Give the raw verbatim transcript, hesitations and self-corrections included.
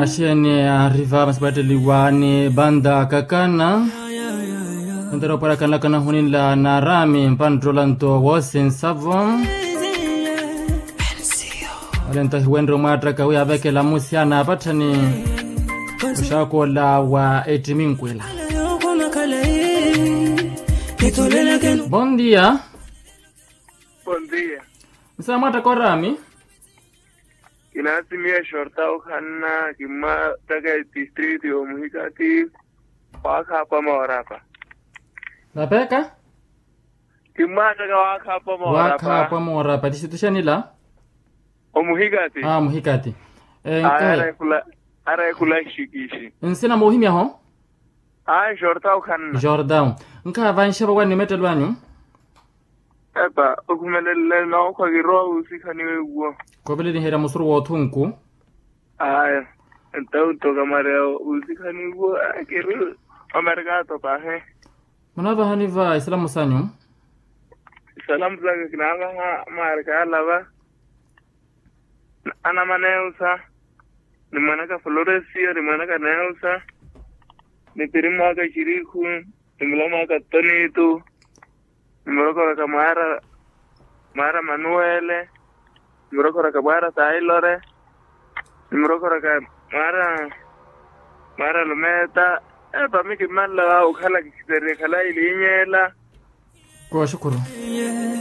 Axeeni ariva masi paatteliwa ni banda kakana. Entero opwarakana kana huninla na arami mpanttolanto woosi nsavo. Olento hiwenre omwaattaka wi avekela musi ana apatthani. Oxaakola wa ettiminkwela. Bondia. Bondia. Nsa mwaattaka orami. Kinaasimiya exorta ohanna kimmaattaka etistritu y'omuhikati. Waakhaapa moorapa. Napeka. Kimmaattaka waakhaapa moorapa. Waakhaapa moorapa tixituxanila. Omuhikati. Aa muhikati. Ara ekhula. Ara ekhula xikixi. Nsina moohimyaho. Aa jordaw khanna. Jordaw. Nkhaava nxepa wani mettelo anyu. Epa okhumelelele nookhwa kirowa wuusikhaniwa ewo. Kooveleliherya musuru w'othunku. Aya. Entawu nto kamareya wuusikhaniwa kiri omerkato pahe. Munavahani va isalamu sanyu. Isalamu saka kinavaha markala va. Ana maneusa. Ni mwanaka floresio ni mwanaka neusa. Ni pirimu aka xirikhu. Ni mulamu aka tonitu. Ni murokoraka mwaara mwaara manuwele. Ni murokoraka mwaara tailore. Ni murokoraka mwaara mwaara lumeta. Epa mi kimmanla va okhala kikhiteriye khala ilinyela. Kooxukuru.